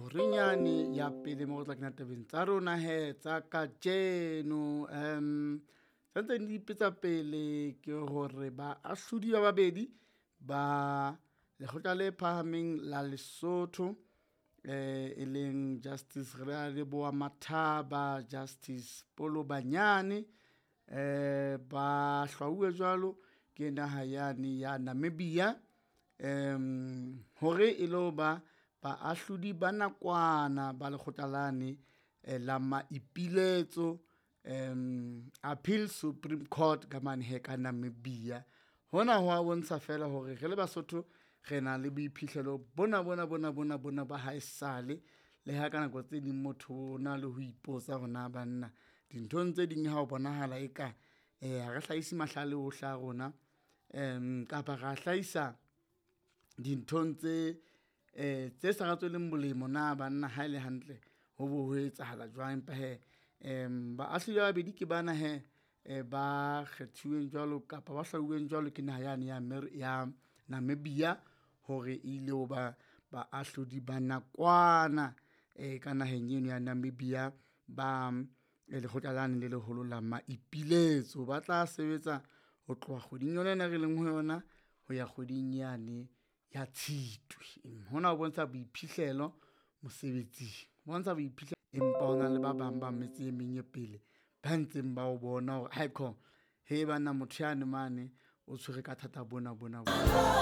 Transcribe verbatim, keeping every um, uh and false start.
Horenyane ya pele mo re tla kena tabeng tsa rona he tsa kajeno. Um tse ntseng di ipetsa pele ke hore baahlodi ba babedi ba lekgotla le phahameng la Lesotho, eh e leng Justice Realeboha Mathaba, Justice Polobanyane, eh ba hlwauwe jwalo ke naha yane ya Namibia, um hore e lo ba baahlodi ba nakwana ba lekgotla lane eh, la maipiletso, um Appeal Supreme Court ka mane he ka Namibia. Hona ho a bontsha fela hore re le Basotho re na le boiphihlelo bona bona bona bona bona ba haesale, le ha ka nako tse ding motho o na le ho ipotsa hore na banna dinthong tse ding ha o bonahala eka eh ha re hlahise mahlale ohle a rona, um kapa ra hlahisa dinthong tse eh tse sa re tsweleng molemo na banna ha ele hantle ho bo ho etsahala jwang. Empa hee um baahlodi ba babedi ke bana hee eh ba kgethuweng jwalo kapa ba hlwauweng jwalo ke naha yane ya ya Namibia hore e ile ho ba baahlodi ba nakwana eh ka naheng eno ya Namibia ba lekgotla lane le leholo la maipiletso. Ba tla sebetsa ho tloha kgweding yona ena re leng ho yona ho ya kgweding yane ya Tshitwe. Hona ho bontsha boiphihlelo mosebetsing, bontsha boiphihlelo, empa ho na le ba bang ba metse e meng e pele ba ntseng ba o bona hore aekho he banna motho yane mane o tshwere ka thata bona bona bona.